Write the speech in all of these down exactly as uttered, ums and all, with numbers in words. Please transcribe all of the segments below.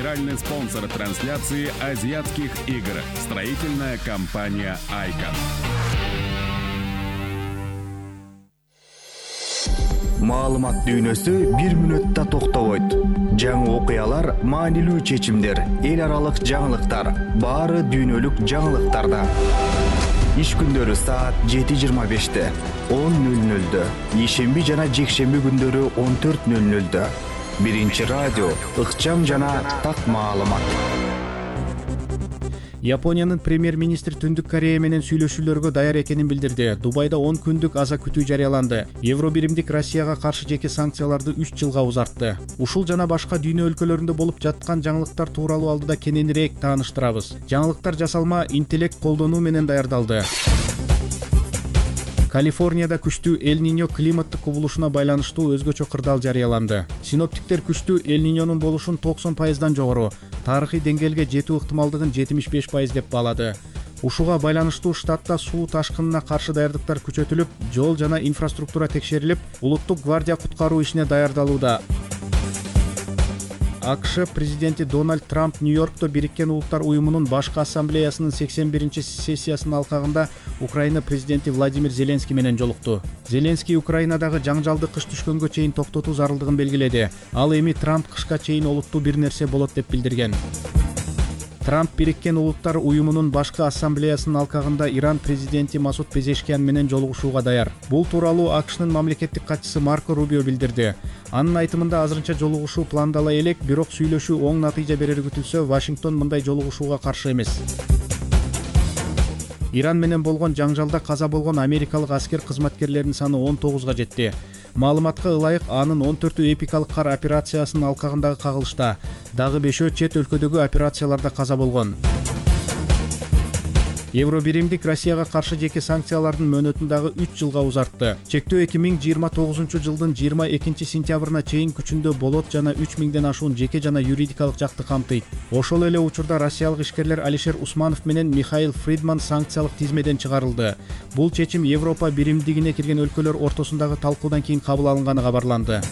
Генеральный спонсор трансляции азиатских игр. Строительная компания «Айкон». Маалымат дүйнөсү бир мүнөттө токтобойт. Жаңы окуялар, маанилүү чечимдер, эл аралык жаңылыктар, баары дүйнөлүк жаңылыктарда. Иш күндөрү саат жети жыйырма беште, он нөл нөлдө, ишемби жана жекшемби күндөрү он төрт нөл нөлдө. Биринчи радио, ыкчам жана так маалымат. Япониянын премьер-министри Түндүк Корея менен сүйлөшүүлөргө даяр экенин билдирди. Дубайда он күндүк аза күтүү жарыяланды. Евробиримдик Россияга каршы жеке санкцияларды үч жылга узартты. Ушул жана башка дүйнө өлкөлөрүндө болуп жаткан жаңылыктар тууралуу алдыда кененирээк тааныштырабыз. Жаңылыктар жасалма интеллект колдонуу менен даярдалды. Калифорнияда күчтүү Эль-Ниньо климаттык кубулушуна байланыштуу өзгөчө кырдаал жарыяланды. Синоптиктер күчтүү Эль-Ниньонун болушун токсон пайыздан жогору, тарыхый деңгээлге жетүү ыктымалдыгын жетимиш беш пайыз деп баалады. Ушуга байланыштуу штатта суу ташкынына каршы даярдыктар күчөтүлүп, жол жана инфраструктура текшерилип, улуттук гвардия куткаруу ишине даярдалууда. АКШ президенти Дональд Трамп Нью-Йоркто Бириккен Улуттар уюмунун башкы ассамблеясынын сексен биринчи сессиясынын алкагында Украина президенти Владимир Зеленский менен жолукту. Зеленский Украинадагы жаңжалды кыш түшкөнгө чейин токтотуу зарылдыгын белгиледи. Ал эми Трамп кышка чейин олуттуу бир нерсе болот деп билдирген. Трамп Бириккен Улуттар уюмунун башкы ассамблеясынын алкагында Иран президенти Масуд Пезешкиян менен жолугушууга даяр. Бул тууралуу АКШнын мамлекеттик катчысы Марко Рубио билдирди. Анын айтымында азырынча жолугушуу пландала элек, бирок сүйлөшүү оң натыйжа берери күтүлсө, Вашингтон мындай жолугушууга каршы эмес. Иран менен болгон жаңжалда каза болгон америкалык аскер кызматкерлеринин саны он тогузга жетти. Маалыматка ылайык, анын он төртү эпикалык кар операциясынын алкагындагы кагылышта, дагы бешөө чет өлкөдөгү операцияларда каза болгон. Евробиримдик Россияга каршы жеке санкциялардын мөөнөтүн дагы үч жылга узартты. Чектөө эки миң жыйырма тогузунчу жылдын жыйырма экинчи сентябрына чейин күчүндө болот жана үч миңден ашуун жеке жана юридикалык жакты камтыйт. Ошол эле учурда россиялык ишкерлер Алишер Усманов менен Михаил Фридман санкциялык тизмеден чыгарылды. Бул чечим Европа биримдигине кирген өлкөлөр ортосундагы талкуудан кийин кабыл алынганы кабарланды.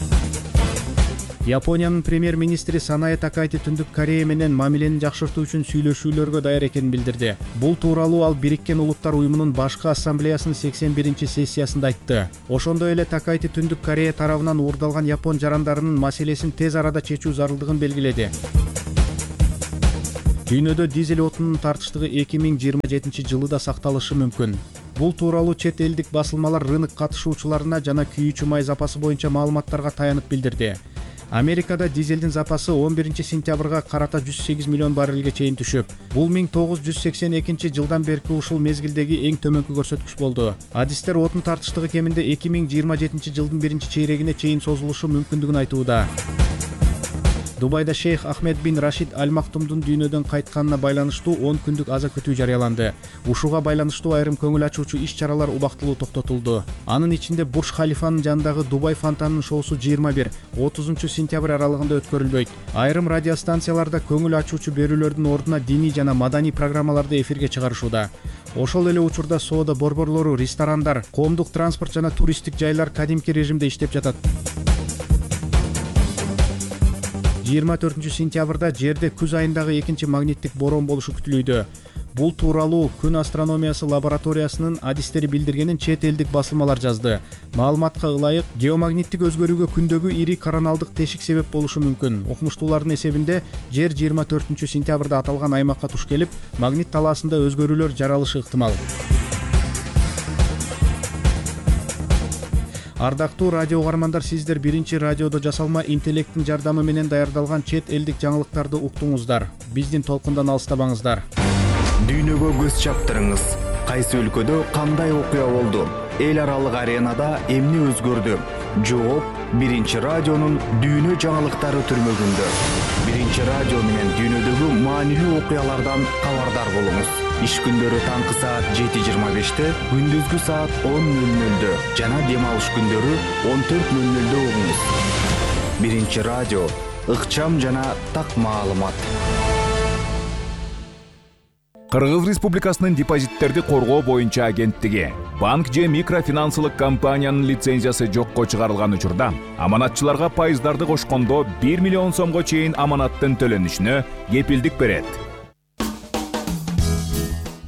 Япониянын премьер-министри Санае Такайти Түндүк Корея менен мамилени жакшыртуу үчүн сүйлөшүүлөргө даяр экенин билдирди. Бул тууралуу ал Бириккен Улуттар уюмунун башкы ассамблеясынын сексен биринчи сессиясында айтты. Ошондой эле Такайти Түндүк Корея тарабынан уурдалган япон жарандарынын маселесин тез арада чечүү зарылдыгын белгиледи. Дүйнөдө дизель отунун тартыштыгы эки миң жыйырма жетинчи жылы да сакталышы мүмкүн. Бул тууралуу чет элдик басылмалар рынок катышуучуларына жана күйүүчү май запасы боюнча маалыматтарга таянып билдирди. Америкада дизелдин запасы он биринчи сентябрга карата жүз сегиз миллион баррелге чейин түшүп, бул миң тогуз жүз сексен экинчи жылдан берки ушул мезгилдеги эң төмөнкү көрсөткүч болду. Адистер отун тартыштыгы кеминде эки миң жыйырма жетинчи жылдын биринчи чейрегине чейин созулушу мүмкүндүгүн айтууда. Дубайда шейх Ахмед бин Рашид Аль Мактумдун дүйнөдөн кайтканына байланыштуу он күндүк аза күтүү жарыяланды. Ушуга байланыштуу айрым көңүл ачуучу иш-чаралар убактылуу токтотулду. Анын ичинде Бурж Халифанын жанындагы Дубай фонтанынын шоусу жыйырма бир отузунчу сентябрь аралыгында өткөрүлбөйт. Айрым радиостанцияларда көңүл ачуучу берүүлөрдүн ордуна диний жана маданий программаларды эфирге чыгарышууда. Ошол эле учурда соода борборлору, ресторандар, коомдук транспорт жана туристтик жайлар кадимки режимде иштеп жатат. жыйырма төртүнчү сентябрда жерде күз айындагы экинчи магниттик борон болушу күтүлүүдө. Бул тууралуу Күн астрономиясы лабораториясынын адистери билдиргенин чет элдик басылмалар жазды. Маалыматка ылайык, геомагниттик өзгөрүүгө күндөгү ири короналдык тешик себеп болушу мүмкүн. Окумуштуулардын эсебинде жер жыйырма төртүнчү сентябрда аталган аймакка туш келип, магнит талаасында өзгөрүүлөр жаралышы ыктымал. Ардактуу радио угармандар, сиздер биринчи радиодо жасалма интеллекттин жардамы менен даярдалган чет элдик жаңылыктарды уктуңуздар. Биздин толкундан алыстабаңыздар. Дүйнөгө көз чаптырыңыз. Кайсы өлкөдө кандай окуя болду? Эл аралык аренада эмне өзгөрдү? Жооп биринчи радионун дүйнө жаңылыктары түрмөгүндө. Биринчи радио менен дүйнөдөгү маанилүү окуялардан кабардар болуңуз. Иш күндөрү таңкы саат жети жыйырма беште, күндүзгү саат он нөл нөлдө жана дем алыш күндөрү он төрт нөл нөлдө угуңуз. Биринчи радио, ыкчам жана так маалымат. Кыргыз Республикасынын депозиттерди коргоо боюнча агенттиги банк же микрофинансылык компаниянын лицензиясы жокко чыгарылган учурда аманатчыларга пайыздарды кошкондо бир миллион сомго чейин аманаттын төлөнүшүнө кепилдик берет.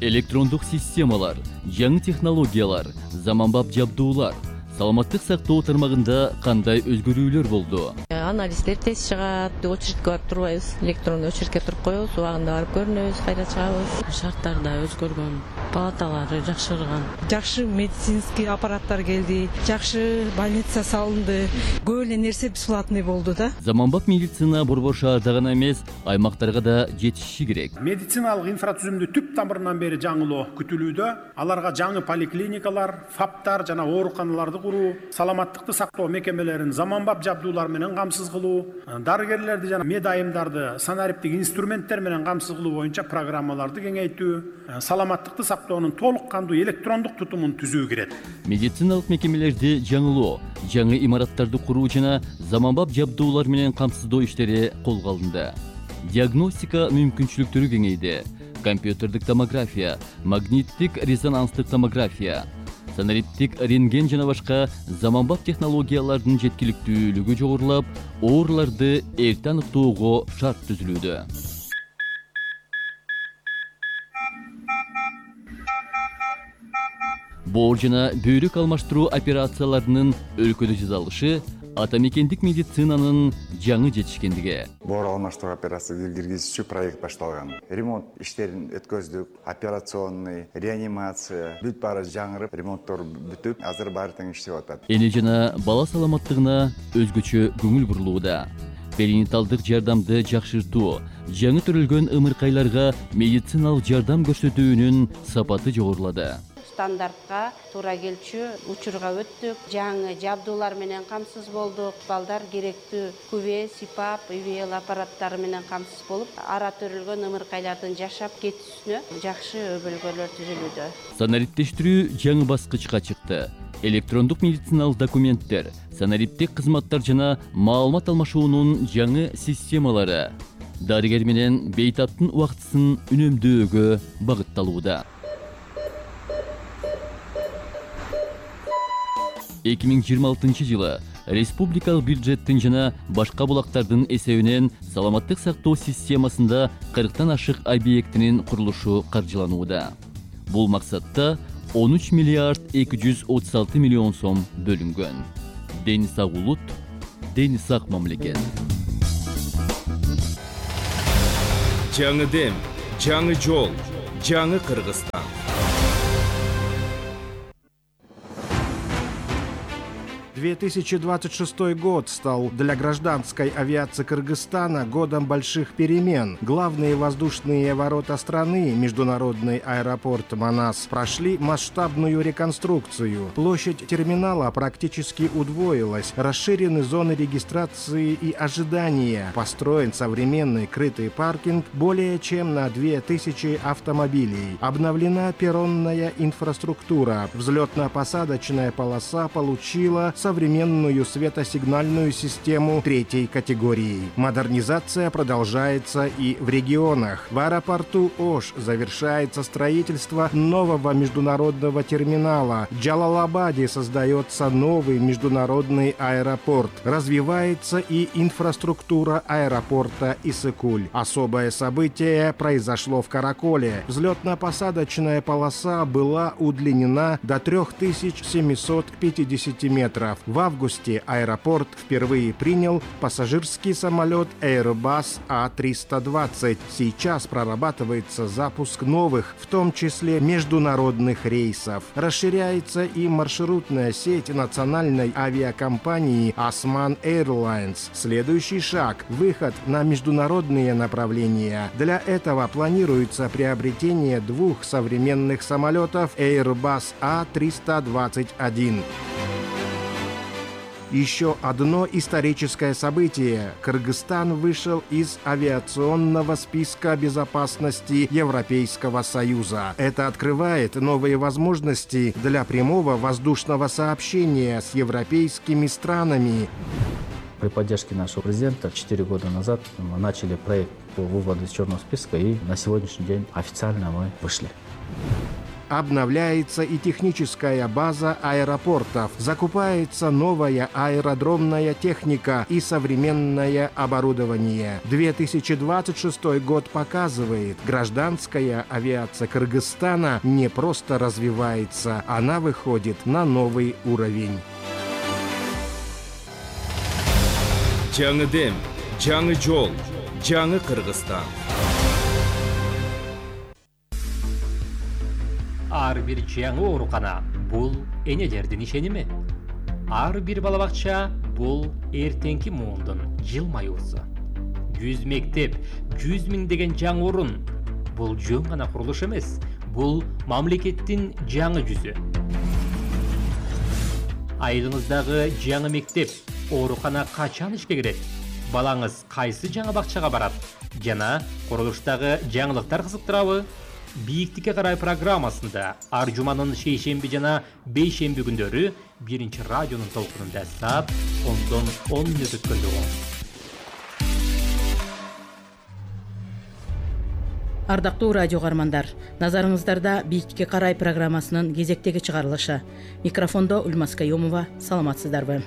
Электрондук системалар, жаңы технологиялар, заманбап жабдуулар саламаттык сактоо тармагында кандай өзгөрүүлөр болду? Анализдер тез чыгат, очередке барып турбайбыз, электрондуу очередке туруп коебуз, убагында барып көрүнөбүз, кайра чыгабыз. Шарттар да өзгөргөн, палаталары жакшырган. Жакшы медицинский аппараттар келди, жакшы больница салынды, көп эле нерсе платный болду да. Заманбап медицина борбор шаарда гана эмес, аймактарга да жетиши керек. Медициналык инфраструктураны түп тамырынан бери жаңылоо күтүлүүдө. Аларга жаңы поликлиникалар, фаптар жана ооруканаларды куруу, саламаттыкты сактоо мекемелерин заманбап жабдуулар менен камсыз кылуу, дарыгерлерди жана медайымдарды санариптик инструменттер менен камсыз кылуу боюнча программаларды кеңейтүү, саламаттыкты сактоонун толук кандуу электрондук тутумун түзүү кирет. Медициналык мекемелерди жаңылоо, жаңы имараттарды куруу жана заманбап жабдуулар менен камсыздоо иштери колго алынды. Диагностика мүмкүнчүлүктөрү кеңейди. Компьютердик томография, магниттик резонанстык томография, санариптик рентген жана башка заманбап технологиялардын жеткиликтүүлүгү жогорулап, ооруларды эрте аныктоого шарт түзүлүүдө. Боор жана бөйрөк алмаштыруу операцияларынын өлкөдө жасалышы атамекендик медицинанын жаңы жетишкендиги. Боор алмаштыруу операциясы киргизүүчү проект башталган. Ремонт иштерин өткөздүк, операционный, реанимация бүт баары жаңырып, ремонттор бүтүп, азыр баары тең иштеп атат. Эне жана бала саламаттыгына өзгөчө көңүл бурулууда. Перинаталдык жардамды жакшыртуу, жаңы төрөлгөн ымыркайларга медициналык жардам көрсөтүүнүн сапаты жогорулады. Стандартка туура келчү учурга өттүк, жаңы жабдуулар менен камсыз болдук. Балдар керектүү күбө, сипап, ИВЛ аппараттары менен камсыз болуп, ара төрөлгөн ымыркайлардын жашап кетүүсүнө жакшы өбөлгөлөр түзүлүүдө. Санариптештирүү жаңы баскычка чыкты. Электрондук медициналык документтер, санариптик кызматтар жана маалымат алмашуунун жаңы системалары дарыгер менен бейтаптын убактысын үнөмдөөгө багытталууда. эки миң жыйырма алтынчы жылы республикалык бюджеттин жана башка булактардын эсебинен саламаттык сактоо системасында кырктан ашык объектинин курулушу каржыланууда. Бул максатта он үч миллиард эки жүз отуз алты миллион сом бөлүнгөн. Дени сак улут, дени сак мамлекет. Жаңы дем, жаңы жол, жаңы Кыргызстан. две тысячи двадцать шестой год стал для гражданской авиации Кыргызстана годом больших перемен. Главные воздушные ворота страны, международный аэропорт Манас, прошли масштабную реконструкцию. Площадь терминала практически удвоилась, расширены зоны регистрации и ожидания, построен современный крытый паркинг более чем на две тысячи автомобилей, обновлена перронная инфраструктура, взлетно-посадочная полоса получила современную светосигнальную систему третьей категории. Модернизация продолжается и в регионах. В аэропорту Ош завершается строительство нового международного терминала. В Джалалабаде создается новый международный аэропорт. Развивается и инфраструктура аэропорта Исыкуль. Особое событие произошло в Караколе. Взлетно-посадочная полоса была удлинена до три тысячи семьсот пятьдесят метров. В августе аэропорт впервые принял пассажирский самолет Airbus А триста двадцать. Сейчас прорабатывается запуск новых, в том числе международных рейсов. Расширяется и маршрутная сеть национальной авиакомпании Osman Airlines. Следующий шаг – выход на международные направления. Для этого планируется приобретение двух современных самолетов Airbus А триста двадцать один. Еще одно историческое событие. Кыргызстан вышел из авиационного списка безопасности Европейского Союза. Это открывает новые возможности для прямого воздушного сообщения с европейскими странами. При поддержке нашего президента четыре года назад мы начали проект по выводу из черного списка, и на сегодняшний день официально мы вышли. Обновляется и техническая база аэропортов, закупается новая аэродромная техника и современное оборудование. две тысячи двадцать шестой год показывает, гражданская авиация Кыргызстана не просто развивается, она выходит на новый уровень. Жаңы дем, жаңы жол, жаңы Кыргызстан. Ар бир жаңы оорукана бул энелердин ишеними. Ар бир бала бакча бул эртеңки муундун жылмаюусу. жүз мектеп, жүз миңдеген жаңы орун. Бул жөн гана курулуш эмес, бул мамлекеттин жаңы жүзү. Айылыңыздагы жаңы мектеп, оорукана качан ишке кирет? Балаңыз кайсы жаңы бакчага барат? Жана курулуштагы жаңылыктар кызыктырабы? Бийиктикке карай программасында ар жуманын шейшемби жана бейшемби күндөрү биринчи радионун толкунунда саат ондон он мүнөт өткөндө болот. Ардактуу радио каармандар, назарыңыздарда Бийиктикке карай программасынын кезектеги чыгарылышы. Микрофондо Ульмас Каюмова, саламатсыздарбы?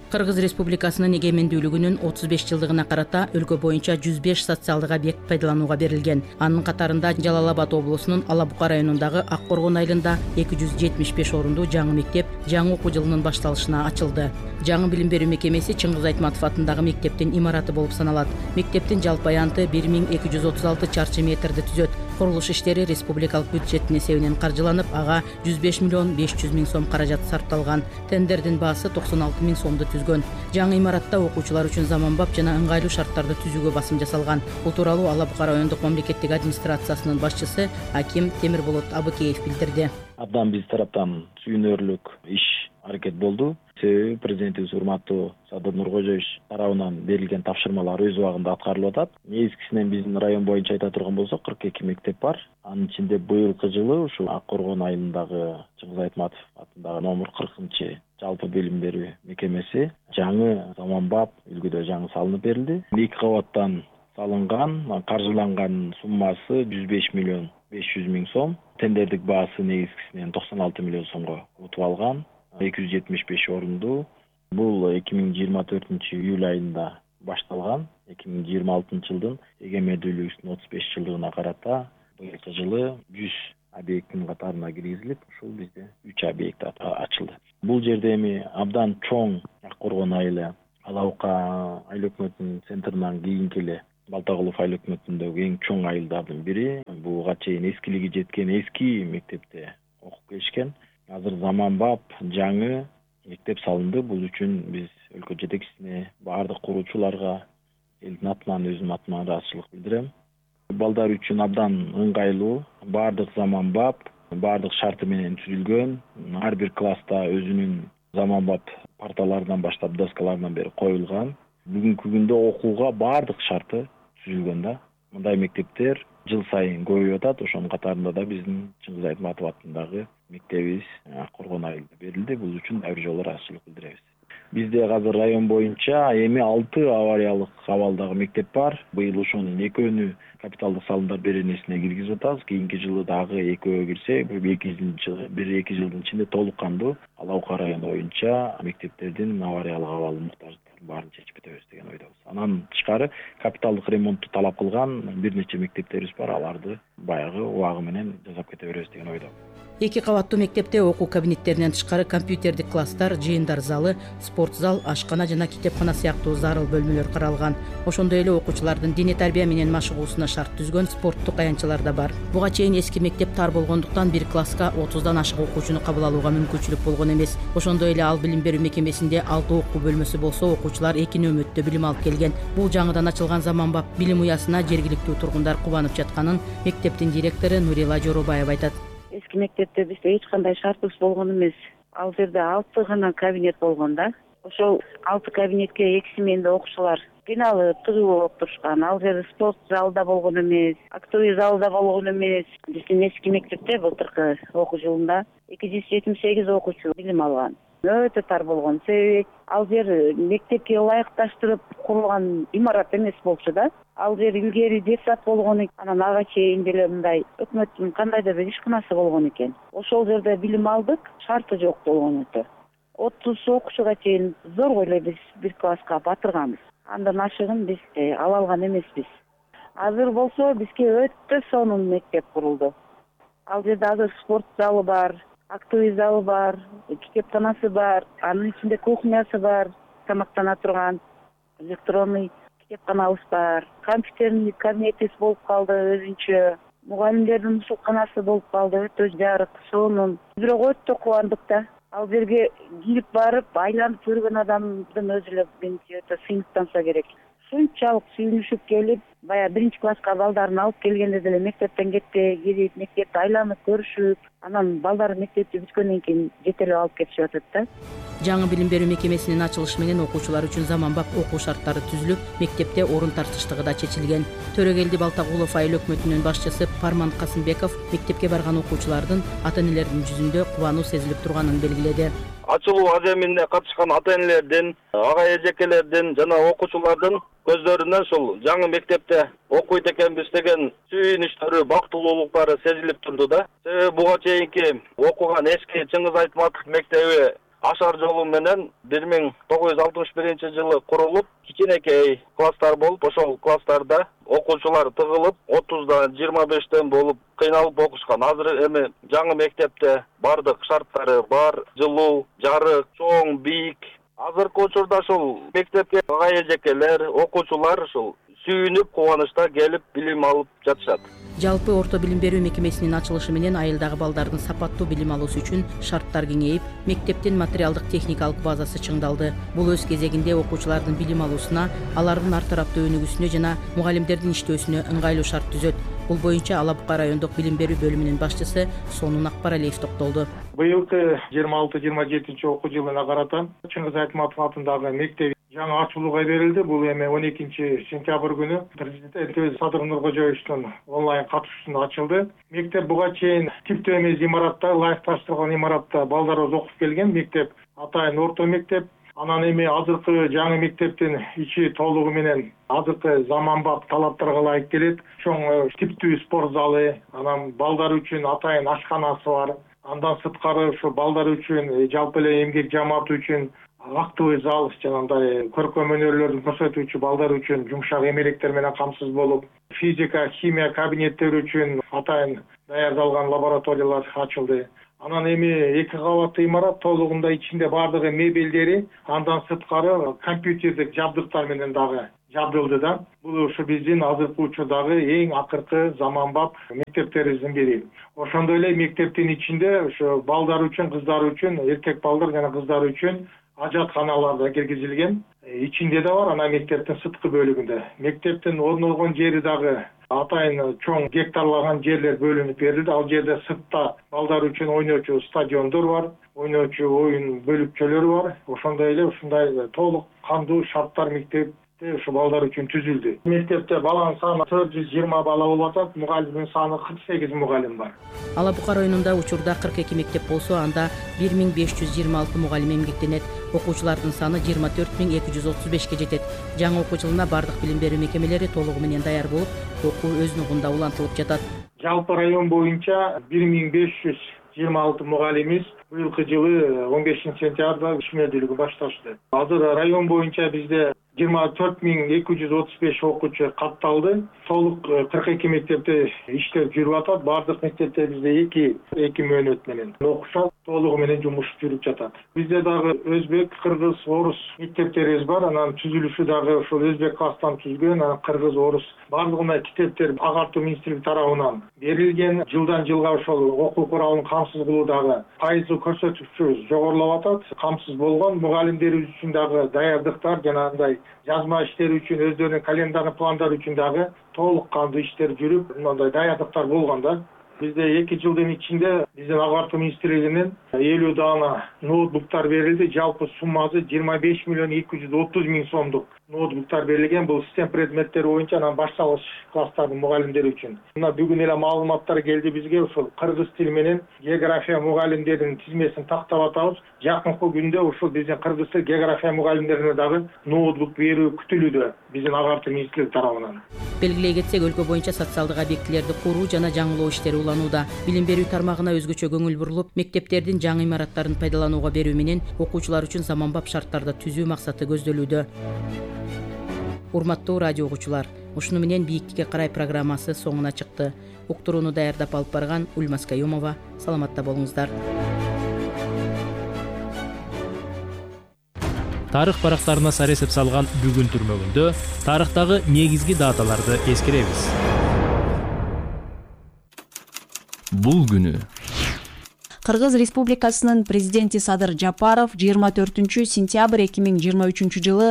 Кыргыз Республикасынын эгемендүүлүгүнүн отуз беш жылдыгына карата өлкө боюнча жүз беш социалдык объект пайдаланууга берилген. Анын катарында Жалал Абад облусунун Ала Бука районундагы Ак Коргон айылында эки жүз жетимиш беш орунду жаңы мектеп жаңы окуу жылынын башталышына ачылды. Жаңы билим берүү мекемеси Чыңгыз Айтматов атындагы мектептин имараты болуп саналат. Мектептин жалпы аянты бир миң эки жүз отуз алты чарчы метрди түзөт. Курулуш иштери республикалык бюджеттин эсебинен каржыланып, ага жүз беш миллион беш жүз миң сом каражат сарпталган. Тендердин баасы токсон алты миң сомду түзгөн. Жаңы имаратта окуучулар үчүн заманбап жана ыңгайлуу шарттарды түзүүгө басым жасалган. Бул тууралуу Ала Бука райондук мамлекеттик администрациясынын башчысы Аким Темирболот Абыкеев билдирди. Абдан биз тараптан сүйүнөрлүк иш аракет болду. Себеби президентибиз урматтуу Садыр Нуркожоевич тарабынан берилген тапшырмалар өз убагында аткарылып атат. Негизгисинен биздин район боюнча айта турган болсок, кырк эки мектеп бар. Анын ичинде быйылкы жылы ушул Ак Коргон айылындагы Чыңгыз Айтматов атындагы номер кыркынчы жалпы билим берүү мекемеси жаңы заманбап үлгүдө жаңы салынып берилди. эки кабаттан салынган, каржыланган суммасы жүз беш миллион беш жүз миң сом. Тендердик баасы негизгисинен токсон алты миллион сомго утуп алган. эки жүз жетимиш беш орунду. Бул эки миң жыйырма төртүнчү июль айында башталган. эки миң жыйырма алтынчы жылдын эгемендүүлүгүбүздүн отуз беш жылдыгына карата быйылкы жылы жүз объекттин катарына киргизилип, ушул бизде үч объект ачылды. Бул жерде эми абдан чоң Ак Коргон айылы Ала Бука айыл өкмөтүнүн центринен кийинки эле Балтагулов айыл өкмөтүндөгү эң чоң айылдардын бири. Буга чейин эскилиги жеткен эски мектепте окуп келишкен. Азыр заманбап жаңы мектеп салынды. Бул үчүн биз өлкө жетекчисине, баардык куруучуларга, элдин атынан, өзүмдүн атыман ыраазычылык билдирем. Балдар үчүн абдан ыңгайлуу, баардык заманбап, баардык шарты менен түзүлгөн. Ар бир класста өзүнүн заманбап парталарынан баштап доскаларынан бери коюлган. Бүгүнкү күндө окууга баардык шарты түзүлгөн да. Мындай мектептер жыл сайын көбөйүп атат. Ошонун катарында да биздин Чыңгыз Айтматов атындагы мектебибиз Ак Коргон айылында берилди. Бул үчүн дагы бир жолу ыраазычылык билдиребиз. Бизде азыр район боюнча эми алты авариялык абалдагы мектеп бар. Быйыл ошонун экөөнү капиталдык салымдар беренесине киргизип атабыз. Кийинки жылы дагы экөө кирсе, бир эки жыл, бир эки жылдын ичинде толук кандуу Ала Бука району боюнча мектептердин авариялык абалы муктаждыктарын баарын чечип кетебиз деген ойдобуз. Анан тышкары капиталдык ремонтту талап кылган бир нече мектептерибиз бар. Аларды баягы убагы менен жасап кете беребиз деген ойдобуз. Эки кабаттуу мектепте окуу кабинеттеринен тышкары компьютердик класстар, жыйындар залы, спорт зал, ашкана жана китепкана сыяктуу зарыл бөлмөлөр каралган. Ошондой эле окуучулардын диний тарбия менен машыгуусуна шарт түзгөн спорттук аянтчалар да бар. Буга чейин эски мектеп тар болгондуктан бир класска отуздан ашык окуучуну кабыл алууга мүмкүнчүлүк болгон эмес. Ошондой эле ал билим берүү мекемесинде алты окуу бөлмөсү болсо, окуучулар эки нөмөттө билим алып келген. Бул жаңыдан ачылган заманбап билим уясына жергиликтүү тургундар кубанып жатканын мектептин директору Нурила Жоробаева айтат. Эски мектепте бизде эч кандай шартыбыз болгон эмес. Ал жерде алты гана кабинет болгон да. Ошол алты кабинетке эки сменде окуучулар кыйналып, тыгуу болуп турушкан. Ал жерде спорт залы да болгон эмес, актовый залы да болгон эмес. Биздин эски мектепте былтыркы окуу жылында эки жүз жетимиш сегиз окуучу билим алган. өтө тар болгон. Себеби ал жер мектепке ылайыкташтырып курулган имарат эмес болчу да. Ал жер илгери детсад болгон экен. Анан ага чейин деле мындай өкмөттүн кандайдыр бир ишканасы болгон экен. Ошол жерде билим алдык, шарты жок болгон өтө. отуз окуучуга чейин зорго эле биз бир класска батырганбыз. Андан ашыгын биз ала алган эмеспиз. Азыр болсо бизге өтө сонун мектеп курулду. Ал жерде азыр спорт залы бар, актовый залы бар, китепканасы бар, анын ичинде кухнясы бар, тамактана турган, электронный китепканабыз бар, компьютерный кабинетибиз болуп калды өзүнчө, мугалимдердин мусулканасы болуп калды, өтө жарык, сонун. Бирок өтө кубандык да. Ал жерге кирип барып, айланып көргөн адамдын өзү эле менимче өтө сыймыктанса керек. Шунчалык сүйүнүшүп келип, баягы биринчи класска балдарын алып келгенде деле мектептен кетпей кирип, мектепти айланып көрүшүп, анан балдар мектепти бүткөндөн кийин жетелеп алып кетишип атат да. Жаңы билим берүү мекемесинин ачылышы менен окуучулар үчүн заманбап окуу шарттары түзүлүп, мектепте орун тартыштыгы да чечилген. Төрөгелди Балтагулов айыл өкмөтүнүн башчысы Парман Касымбеков мектепке барган окуучулардын ата-энелердин жүзүндө кубануу сезилип турганын белгиледи. Ачылуу аземине катышкан ата-энелердин, ага эжекелердин жана окуучулардын көздөрүнөн ушул жаңы мектепте окуйт экенбиз деген сүйүнүчтөрү, бактылуулуктары сезилип турду да. Себеби буга чейинки окуган эски Чыңгыз Айтматов мектеби ашар жолу менен бир миң тогуз жүз алтымыш биринчи жылы курулуп, кичинекей класстар болуп, ошол класстарда окуучулар тыгылып, отуздан жыйырма бештен болуп кыйналып окушкан. Азыр эми жаңы мектепте бардык шарттары бар, жылуу, жарык, чоң, бийик. Азыркы учурда ушул мектепке ага эжекелер, окуучулар ушул сүйүнүп, кубанычта келип билим алып жатышат. Жалпы орто билим берүү мекемесинин ачылышы менен айылдагы балдардын сапаттуу билим алуусу үчүн шарттар кеңейип, мектептин материалдык техникалык базасы чыңдалды. Бул өз кезегинде окуучулардын билим алуусуна, алардын ар тараптуу өнүгүүсүнө жана мугалимдердин иштөөсүнө ыңгайлуу шарт түзөт. Бул боюнча Ала Бука райондук билим берүү бөлүмүнүн башчысы Сонун Акбаралиев токтолду. Быйылкы жыйырма алты жыйырма жетинчи окуу жылына карата Чыңгыз Айтматов атындагы мектеп жаңы ачылууга берилди. Бул эми он экинчи сентябрь күнү президентибиз Садыр Нуркожоевичтин онлайн катышуусунда ачылды. Мектеп буга чейин типтүү эмес имаратта, ылайыкташтырылган имаратта балдарыбыз окуп келген. Мектеп атайын орто мектеп. Анан эми азыркы жаңы мектептин ичи толугу менен азыркы заманбап талаптарга ылайык келет. Чоң типтүү спорт залы, анан балдар үчүн атайын ашканасы бар. Андан сырткары ушу балдар үчүн, жалпы эле эмгек жамааты үчүн актовый зал, жанагындай көркөм өнөрлөрдүн көрсөтүүчү балдар үчүн жумшак эмеректер менен камсыз болуп, физика, химия кабинеттери үчүн атайын даярдалган лабораториялар ачылды. Анан эми эки кабаттуу имарат толугунда ичинде бардыгы мебелдери, андан сырткары компьютердик жабдыктар менен дагы жабдылды да. Бул ушу биздин азыркы учурдагы эң акыркы заманбап мектептерибиздин бири. Ошондой эле мектептин ичинде ушу балдар үчүн, кыздар үчүн, эркек балдар жана кыздар үчүн ажатканалар да киргизилген. Ичинде да бар, анан мектептин сырткы бөлүгүндө. Мектептин орнолгон жери дагы атайын чоң гектарлаган жерлер бөлүнүп берилди. Ал жерде сыртта балдар үчүн ойноочу стадиондор бар, ойноочу оюн бөлүкчөлөрү бар. Ошондой эле ушундай толук кандуу шарттар мектепте ушу балдар үчүн түзүлдү. Мектепте баланын саны төрт жүз жыйырма бала болуп атат, мугалимдин саны кырк сегиз мугалим бар. Ала Бука районунда учурда кырк эки мектеп болсо, анда бир миң беш жүз жыйырма алты мугалим эмгектенет. Окуучулардын саны жыйырма төрт миң эки жүз отуз бешке жетет. Жаңы окуу жылына бардык билим берүү мекемелери толугу менен даяр болуп, окуу өз нугунда улантылып жатат. Жалпы район боюнча бир миң беш жүз жыйырма алты мугалимиз быйылкы жылы он бешинчи сентябрда ишмердүүлүгүн башташты. Азыр район боюнча бизде жыйырма төрт миң эки жүз отуз беш окуучу катталды. Толук кырк эки мектепте иштер жүрүп атат. Бардык мектепте бизде эки эки мөөнөт менен окушат, толугу менен жумуш жүрүп жатат. Бизде дагы өзбек, кыргыз, орус мектептерибиз бар. Анан түзүлүшү дагы ошол өзбек класстан түзгөн, анан кыргыз, орус бардыгына китептер агартуу министрлиги тарабынан берилген. Жылдан жылга ошол окуу куралын камсыз кылуу дагы пайызы көрсөтүкчү жогорулап атат. Камсыз болгон мугалимдерибиз үчүн дагы даярдыктар жана андай жазма иштери үчүн, өздөрүнүн календарный пландары үчүн дагы толук кандуу иштер жүрүп, мындай даярдыктар болгон да. Бизде эки жылдын ичинде биздин агартуу министрлигинен элүү даана ноутбуктар берилди. Жалпы суммасы жыйырма беш миллион эки жүз отуз миң сомдук ноутбуктар берилген. Бул систем предметтери боюнча анан башталгыч класстардын мугалимдери үчүн. Мына бүгүн эле маалыматтар келди бизге, ушул кыргыз тили менен география мугалимдеринин тизмесин тактап атабыз. Жакынкы күндө ушул биздин кыргыз тил география мугалимдерине дагы ноутбук берүү күтүлүүдө биздин агартуу министрлиги тарабынан. Белгилей кетсек, өлкө боюнча социалдык объектилерди куруу жана жаңылоо иштери уланууда. Билим берүү тармагына өзгөчө көңүл бурулуп, мектептердин жаңы имараттарын пайдаланууга берүү менен окуучулар үчүн заманбап шарттарды түзүү максаты көздөлүүдө. Урматтуу радио угуучулар, ушуну менен бийиктикке карай программасы соңуна чыкты. Уктурууну даярдап алып барган Ульмас Каюмова. Саламатта болуңуздар. Тарых барактарына саресеп салган бүгүн түрмөгүндө тарыхтагы негизги даталарды эскеребиз. Бул күнү Кыргыз Республикасынын президенти Садыр Жапаров жыйырма төртүнчү сентябрь эки миң жыйырма үчүнчү жылы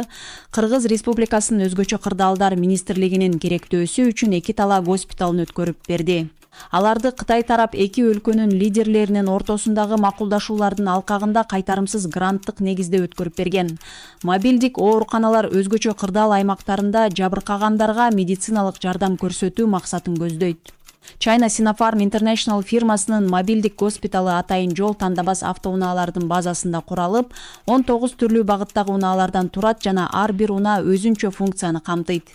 Кыргыз Республикасынын өзгөчө кырдаалдар министрлигинин керектөөсү үчүн эки тала госпиталын өткөрүп берди. Аларды Кытай тарап эки өлкөнүн лидерлеринин ортосундагы макулдашуулардын алкагында кайтарымсыз гранттык негизде өткөрүп берген. Мобилдик ооруканалар өзгөчө кырдаал аймактарында жабыркагандарга медициналык жардам көрсөтүү максатын көздөйт. China Sinopharm International фирмасынын мобилдик госпиталы атайын жол тандабас автоунаалардын базасында куралып, он тогуз түрлүү багыттагы унаалардан турат жана ар бир унаа өзүнчө функцияны камтыйт.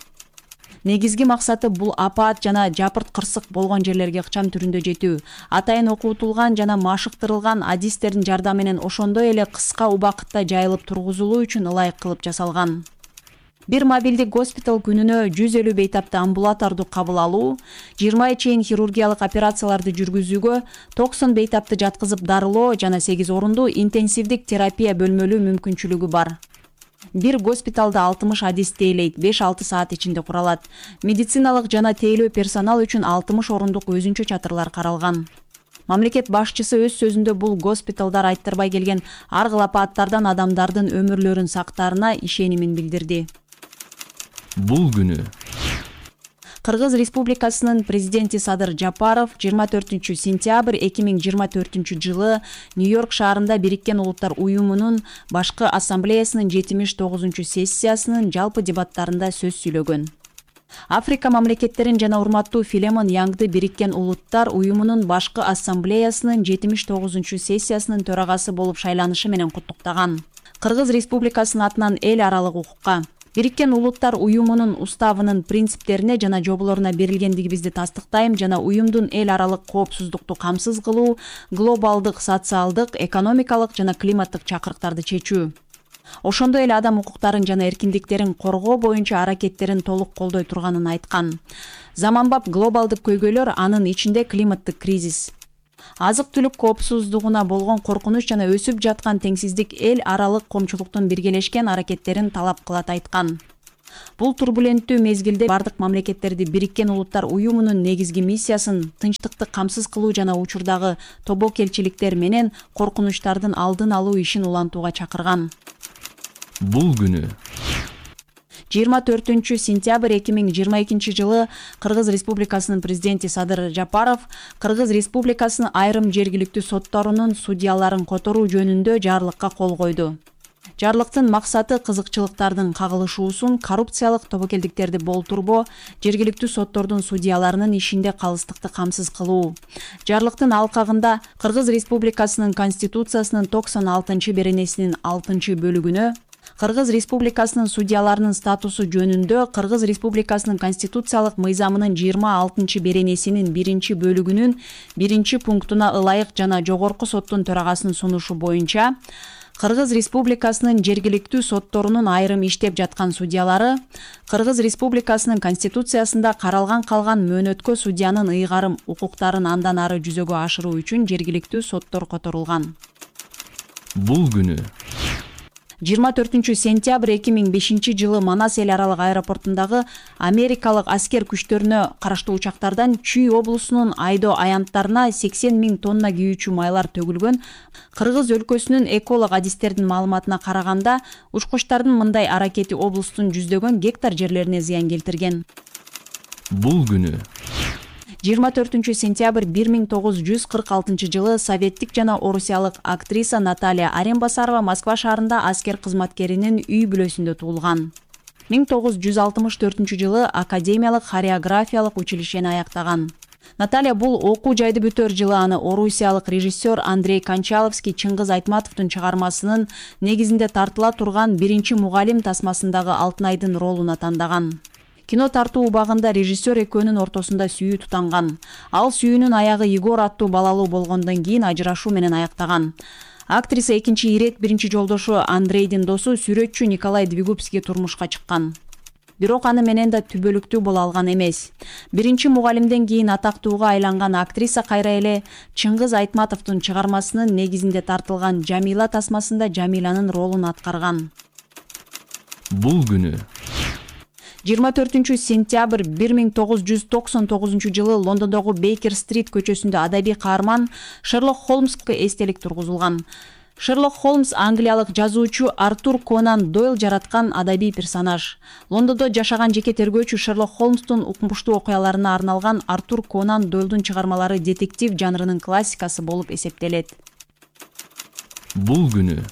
Негизги максаты бул апаат жана жапырт кырсык болгон жерлерге ыкчам түрүндө жетүү. Атайын окутулган жана машыктырылган адистердин жардамы менен ошондой эле кыска убакытта жайылып тургузулуу үчүн ылайык кылып жасалган. Бир мобилдик госпитал күнүнө жүз элүү бейтапты амбулаторду кабыл алуу, жыйырма чейин хирургиялык операцияларды жүргүзүүгө, токсон бейтапты жаткызып дарылоо жана сегиз орундуу интенсивдик терапия бөлмөлүү мүмкүнчүлүгү бар. Бир госпиталда алтымыш адис тейлейт, беш алты саат ичинде куралат. Медициналык жана тейлөө персонал үчүн алтымыш орундук өзүнчө чатырлар каралган. Мамлекет башчысы өз сөзүндө бул госпиталдар айттырбай келген ар кыл апааттардан адамдардын өмүрлөрүн сактаарына ишенимин билдирди. Бул күнү Кыргыз Республикасынын президенти Садыр Жапаров жыйырма төртүнчү сентябрь эки миң жыйырма төртүнчү жылы Нью-Йорк шаарында Бириккен Улуттар Уюмунун башкы ассамблеясынын жетимиш тогузунчу сессиясынын жалпы дебаттарында сөз сүйлөгөн. Африка мамлекеттерин жана урматтуу Филемон Яңды Бириккен Улуттар Уюмунун башкы ассамблеясынын жетимиш тогузунчу сессиясынын төрагасы болуп шайланышы менен куттуктаган. Кыргыз Республикасынын атынан эл аралык укукка, Бириккен Улуттар Уюмунун уставынын принциптерине жана жоболоруна берилгендигибизди тастыктайм жана уюмдун эл аралык коопсуздукту камсыз кылуу, глобалдык, социалдык, экономикалык жана климаттык чакырыктарды чечүү. Ошондой эле адам укуктарын жана эркиндиктерин коргоо боюнча аракеттерин толук колдой турганын айткан. Заманбап глобалдык көйгөйлөр, анын ичинде климаттык кризис, азык-түлүк коопсуздугуна болгон коркунуч жана өсүп жаткан теңсиздик эл аралык коомчулуктун биргелешкен аракеттерин талап кылат айткан. Бул турбуленттүү мезгилде бардык мамлекеттерди Бириккен Улуттар Уюмунун негизги миссиясын тынчтыкты камсыз кылуу жана учурдагы тобокелчиликтер менен коркунучтардын алдын алуу ишин улантууга чакырган. Бул күнү жыйырма төртүнчү сентябрь эки миң жыйырма экинчи жылы Кыргыз Республикасынын президенти Садыр Жапаров Кыргыз Республикасынын айрым жергиликтүү сотторунун судьяларын которуу жөнүндө жарлыкка кол койду. Жарлыктын максаты кызыкчылыктардын кагылышуусун, коррупциялык тобокелдиктерди болтурбоо, жергиликтүү соттордун судьяларынын ишинде калыстыкты камсыз кылуу. Жарлыктын алкагында Кыргыз Республикасынын Конституциясынын токсон алтынчы беренесинин алтынчы бөлүгүнө Кыргыз Республикасынын судьяларынын статусу жөнүндө Кыргыз Республикасынын конституциялык мыйзамынын жыйырма алтынчы беренесинин биринчи бөлүгүнүн биринчи пунктуна ылайык жана жогорку соттун төрагасынын сунушу боюнча Кыргыз Республикасынын жергиликтүү сотторунун айрым иштеп жаткан судьялары Кыргыз Республикасынын конституциясында каралган калган мөөнөткө судьянын ыйгарым укуктарын андан ары жүзөгө ашыруу үчүн жергиликтүү соттор которулган. Бул күнү жыйырма төртүнчү сентябрь эки миң бешинчи жылы Манас эл аралык аэропортундагы америкалык аскер күчтөрүнө караштуу учактардан Чүй облусунун Айдо аянттарына сексен миң тонна күйүүчү майлар төгүлгөн. Кыргыз өлкөсүнүн эколог адистердин маалыматына караганда, учкучтардын мындай аракети облустун жүздөгөн гектар жерлерине зыян келтирген. Бул күнү жыйырма төртүнчү сентябрь бир миң тогуз жүз кырк алтынчы жылы советтик жана орусиялык актриса Наталья Аренбасарова Москва шаарында аскер кызматкеринин үй бүлөсүндө туулган. миң тогуз жүз алтымыш төртүнчү жылы академиялык хореографиялык училищени аяктаган. Наталья бул окуу жайды бүтөр жылы аны орусиялык режиссер Андрей Кончаловский Чыңгыз Айтматовдун чыгармасынын негизинде тартыла турган биринчи мугалим тасмасындагы Алтынайдын ролуна тандаган. Кино тартуу убагында режиссер экөөнүн ортосунда сүйүү тутанган. Ал сүйүүнүн аягы Егор аттуу балалуу болгондон кийин ажырашуу менен аяктаган. Актриса экинчи ирет биринчи жолдошу Андрейдин досу сүрөтчү Николай Двигубский турмушка чыккан. Бирок аны менен да түбөлүктүү боло алган эмес. Биринчи мугалимден кийин атактууга айланган актриса кайра эле Чыңгыз Айтматовдун чыгармасынын негизинде тартылган Жамила тасмасында Жамиланын ролун аткарган. Бул күнү жыйырма төртүнчү сентябрь бир миң тогуз жүз токсон тогузунчу жылы Лондондогу Бейкер-стрит көчөсүндө адабий каарман Шерлок Холмско эстелик тургузулган. Шерлок Холмс англиялык жазуучу Артур Конан Дойл жараткан адабий персонаж. Лондондо жашаган жеке тергөөчү Шерлок Холмстун укмуштуу окуяларына арналган Артур Конан Дойлдун чыгармалары детектив жанрынын классикасы болуп эсептелет. Бул күнү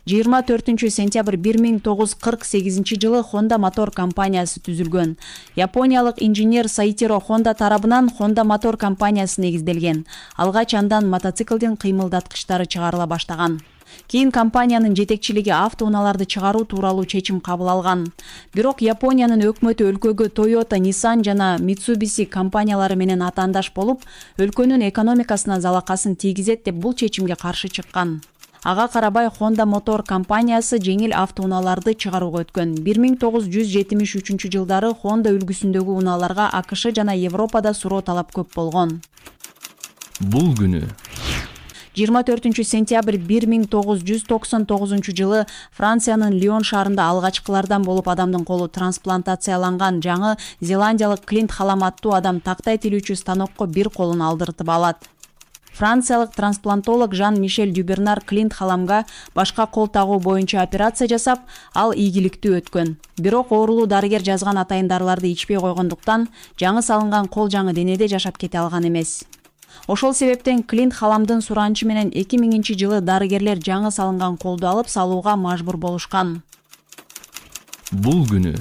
жыйырма төртүнчү сентябрь бир миң тогуз жүз кырк сегизинчи жылы Honda мотор компаниясы түзүлгөн. Япониялык инженер Саитиро Honda тарабынан Honda мотор компаниясы негизделген. Алгач андан мотоциклдин кыймылдаткычтары чыгарыла баштаган. Кийин компаниянын жетекчилиги автоунааларды чыгаруу тууралуу чечим кабыл алган. Бирок Япониянын өкмөтү өлкөгө Toyota, Nissan жана Mitsubishi компаниялары менен атаандаш болуп, өлкөнүн экономикасына залакасын тийгизет деп бул чечимге каршы чыккан. Ага карабай Honda мотор компаниясы жеңил автоунааларды чыгарууга өткөн. бир миң тогуз жүз жетимиш үчүнчү жылдары Honda үлгүсүндөгү унааларга АКШ жана Европада суроо талап көп болгон. Бул күнү жыйырма төртүнчү сентябрь бир миң тогуз жүз токсон тогузунчу жылы Франциянын Лион шаарында алгачкылардан болуп адамдын колу трансплантацияланган жаңы Зеландиялык Клинт Халам аттуу адам тактай тилүүчү станокко бир колун алдыртып алат. Франциялык трансплантолог Жан-Мишель Дюбернар Клинт Халамга башка кол тагуу боюнча операция жасап, ал ийгиликтүү өткөн. Бирок оорулуу дарыгер жазган атайын дарыларды ичпей койгондуктан жаңы салынган кол жаңы денеде жашап кете алган эмес. Ошол себептен Клинт Халамдын суранычы менен эки миңинчи жылы дарыгерлер жаңы салынган колду алып салууга мажбур болушкан. Бул күнү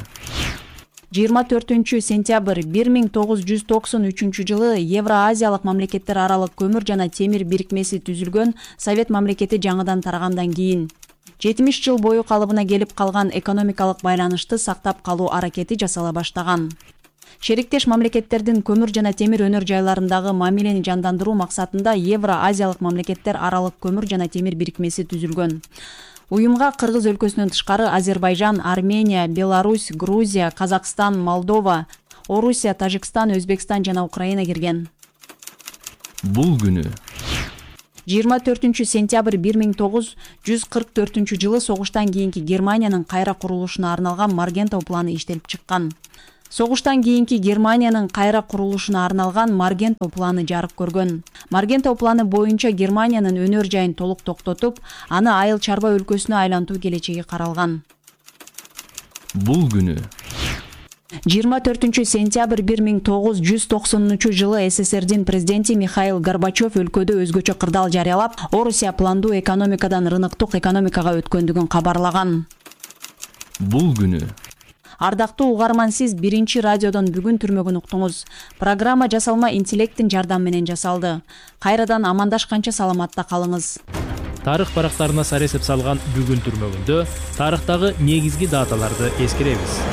жыйырма төртүнчү сентябрь бир миң тогуз жүз токсон үчүнчү жылы Евро-Азиялык мамлекеттер аралык көмүр жана темир бирикмеси түзүлгөн. Совет мамлекети жаңыдан тарагандан кийин жетимиш жыл бою калыбына келип калган экономикалык байланышты сактап калуу аракети жасала баштаган. Шериктеш мамлекеттердин көмүр жана темир өнөр жайларындагы мамилени жандандыруу максатында Евро-Азиялык мамлекеттер аралык көмүр жана темир бирикмеси түзүлгөн. Уюмга Кыргыз өлкөсүнөн тышкары Азербайжан, Армения, Беларусь, Грузия, Казакстан, Молдова, Орусия, Тажикстан, Өзбекстан жана Украина кирген. Бул күнү жыйырма төртүнчү сентябрь бир миң тогуз жүз кырк төртүнчү жылы согуштан кийинки Германиянын кайра курулушуна арналган Маргентау планы иштелип чыккан. Согуштан кийинки Германиянын кайра курулушуна арналган Маргентау планы жарык көргөн. Маргентау планы боюнча Германиянын өнөр жайын толук токтотуп, аны айыл чарба өлкөсүнө айлантуу келечеги каралган. Бул күнү жыйырма төртүнчү сентябрь бир миң тогуз жүз токсонунчу жылы СССРдин президенти Михаил Горбачев өлкөдө өзгөчө кырдаал жарыялап, Орусия пландуу экономикадан рыноктук экономикага өткөндүгүн кабарлаган. Бул күнү Ардактуу угарман, сиз биринчи радиодон бүгүн түрмөгүн уктуңуз. Программа жасалма интеллекттин жардамы менен жасалды. Кайрадан амандашканча саламатта калыңыз. Тарых барактарына саресеп салган бүгүн түрмөгүндө тарыхтагы негизги даталарды эскеребиз.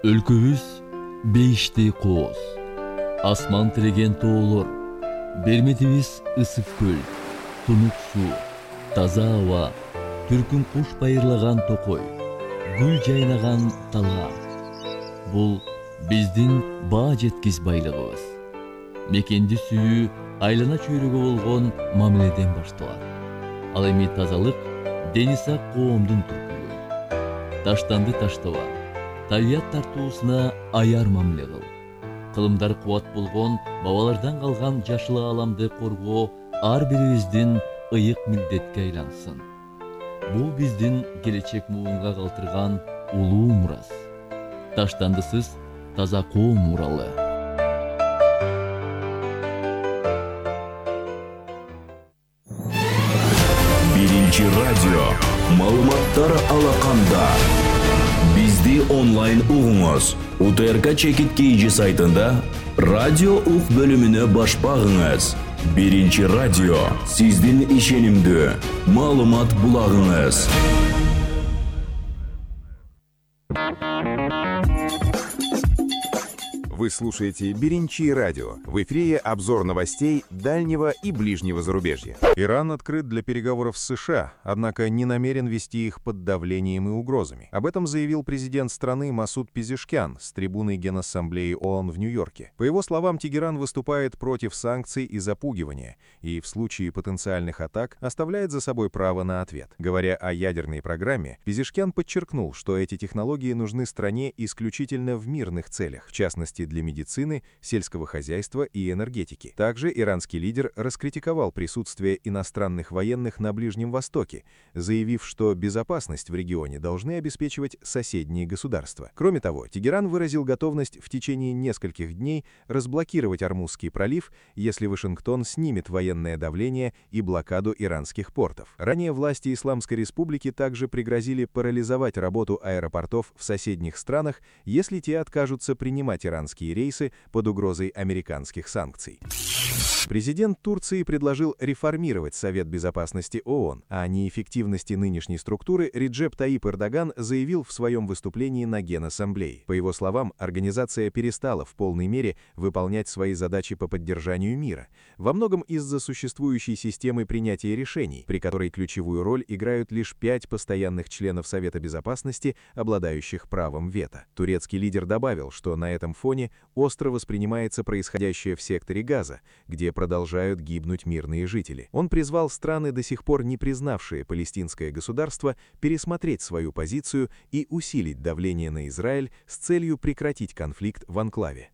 Өлкөбүз бейиштей кооз, асман тиреген тоолор, берметибиз ысык көл, тунук суу, таза аба, түркүн куш байырлаган токой, гүл жайнаган талаа. Бул биздин баа жеткис байлыгыбыз. Мекенди сүйүү айлана чөйрөгө болгон мамиледен башталат. Ал эми тазалык дени сак коомдун түркүлүгү. Таштанды таштаба, табият тартуусуна аяр мамиле кыл. Кылымдар кубат болгон бабалардан калган жашыл ааламды коргоо ар бирибиздин ыйык милдетке айлансын. бул биздин келечек муунга калтырган улуу мурас. Таштандысыз таза коом муралы. Биринчи радио маалыматтар алаканда. Бизди онлайн угуңуз. УТРК Чекит Кейжи сайтында радио ук бөлүмүнө баш багыңыз. Биринчи радио сиздин ишенимдүү маалымат булагыңыз. Вы слушаете «Беринчи радио». В эфире обзор новостей дальнего и ближнего зарубежья. Иран открыт для переговоров с США, однако не намерен вести их под давлением и угрозами. Об этом заявил президент страны Масуд Пезешкян с трибуны Генассамблеи ООН в Нью-Йорке. По его словам, Тегеран выступает против санкций и запугивания, и в случае потенциальных атак оставляет за собой право на ответ. Говоря о ядерной программе, Пезешкян подчеркнул, что эти технологии нужны стране исключительно в мирных целях, в частности для медицины, сельского хозяйства и энергетики. Также иранский лидер раскритиковал присутствие иностранных военных на Ближнем Востоке, заявив, что безопасность в регионе должны обеспечивать соседние государства. Кроме того, Тегеран выразил готовность в течение нескольких дней разблокировать Ормузский пролив, если Вашингтон снимет военное давление и блокаду иранских портов. Ранее власти Исламской Республики также пригрозили парализовать работу аэропортов в соседних странах, если те откажутся принимать иранские рейсы под угрозой американских санкций. Президент Турции предложил реформировать Совет Безопасности ООН. О неэффективности нынешней структуры Реджеп Таип Эрдоган заявил в своем выступлении на Генассамблее. По его словам, организация перестала в полной мере выполнять свои задачи по поддержанию мира, во многом из-за существующей системы принятия решений, при которой ключевую роль играют лишь пять постоянных членов Совета Безопасности, обладающих правом вето. Турецкий лидер добавил, что на этом фоне остро воспринимается происходящее в секторе Газа, где продолжают гибнуть мирные жители. Он призвал страны, до сих пор не признавшие палестинское государство, пересмотреть свою позицию и усилить давление на Израиль с целью прекратить конфликт в анклаве.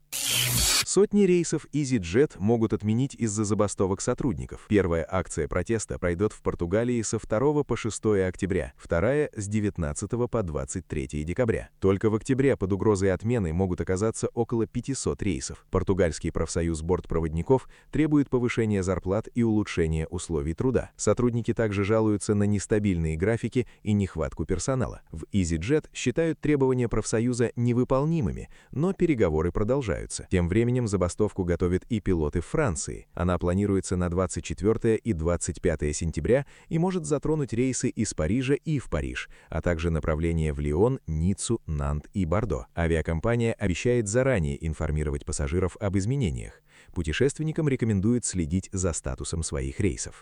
Сотни рейсов EasyJet могут отменить из-за забастовок сотрудников. Первая акция протеста пройдет в Португалии со второго по шестое октября, вторая с девятнадцатого по двадцать третье декабря. Только в октябре под угрозой отмены могут оказаться около пятисот рейсов. Португальский профсоюз бортпроводников требует повышения зарплат и улучшения условий труда. Сотрудники также жалуются на нестабильные графики и нехватку персонала. В EasyJet считают требования профсоюза невыполнимыми, но переговоры продолжаются. Тем временем забастовку готовят и пилоты Франции. Она планируется на двадцать четвёртое и двадцать пятое сентября и может затронуть рейсы из Парижа и в Париж, а также направления в Лион, Ниццу, Нант и Бордо. Авиакомпания обещает заранее информировать пассажиров об изменениях. Путешественникам рекомендует следить за статусом своих рейсов.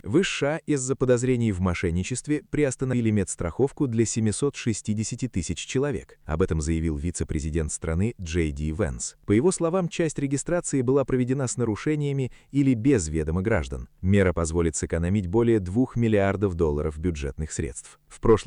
В США из-за подозрений в мошенничестве приостановили медстраховку для семисот шестидесяти тысяч человек. Об этом заявил вице-президент страны Джей Ди Венс. По его словам, часть регистрации была проведена с нарушениями или без ведома граждан. Мера позволит сэкономить более двух миллиардов долларов бюджетных средств. В прошлом